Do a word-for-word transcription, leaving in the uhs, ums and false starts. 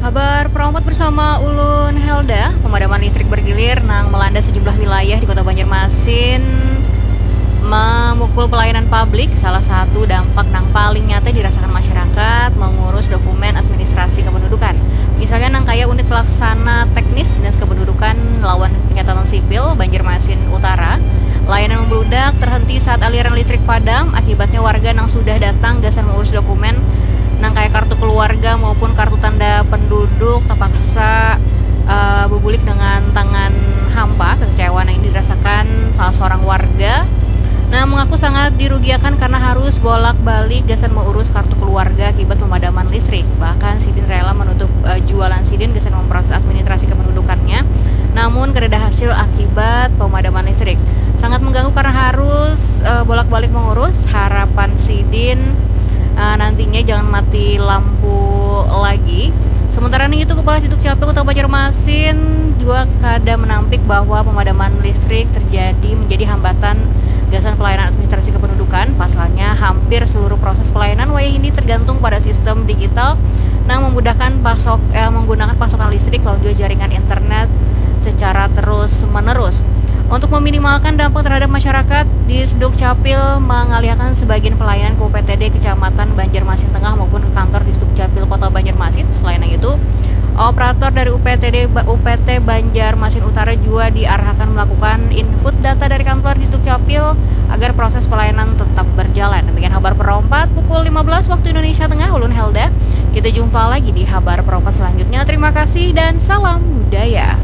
Kabar perompat bersama ulun Helda. Pemadaman listrik bergilir nang melanda sejumlah wilayah di Kota Banjarmasin memukul pelayanan publik. Salah satu dampak nang paling nyata dirasakan masyarakat mengurus dokumen administrasi kependudukan. Misalnya nang kaya unit pelaksana teknis Dinas Kependudukan lawan Pencatatan Sipil Banjarmasin Utara. Layanan membludak terhenti saat aliran listrik padam. Akibatnya warga nang sudah datang gasan mengurus dokumen nang kaya kartu keluarga maupun kartu tanda penduduk terpaksa uh, bebulik dengan tangan hampa. Kekecewaan ini dirasakan salah seorang warga. Nah, mengaku sangat dirugiakan karena harus bolak-balik gasan mengurus kartu keluarga akibat pemadaman listrik. Bahkan sidin rela menutup uh, jualan sidin gasan memproses administrasi kependudukannya. Namun kereda hasil akibat pemadaman listrik. Sangat mengganggu karena harus uh, bolak-balik mengurus. Harapan sidin uh, nantinya jangan mati lampu lagi. Sementara itu, Kepala Dukcapil Kota Banjarmasin juga kada menampik bahwa pemadaman listrik terjadi menjadi hambatan gasan pelayanan administrasi kependudukan. Pasalnya hampir seluruh proses pelayanan wayah ini tergantung pada sistem digital nang memudahkan pasok eh, menggunakan pasokan listrik lalu juga jaringan internet secara terus menerus. Untuk meminimalkan dampak terhadap masyarakat, Disduk Capil mengalihakan sebagian pelayanan ke U P T D Kecamatan Banjarmasin Tengah maupun ke kantor Disduk Capil Kota Banjarmasin. Selain itu, operator dari U P T D U P T Banjarmasin Utara juga diarahkan melakukan input data dari kantor Disduk Capil agar proses pelayanan tetap berjalan. Demikian kabar perompat pukul lima belas waktu Indonesia Tengah, ulun Helda. Kita jumpa lagi di kabar perompat selanjutnya. Terima kasih dan salam budaya.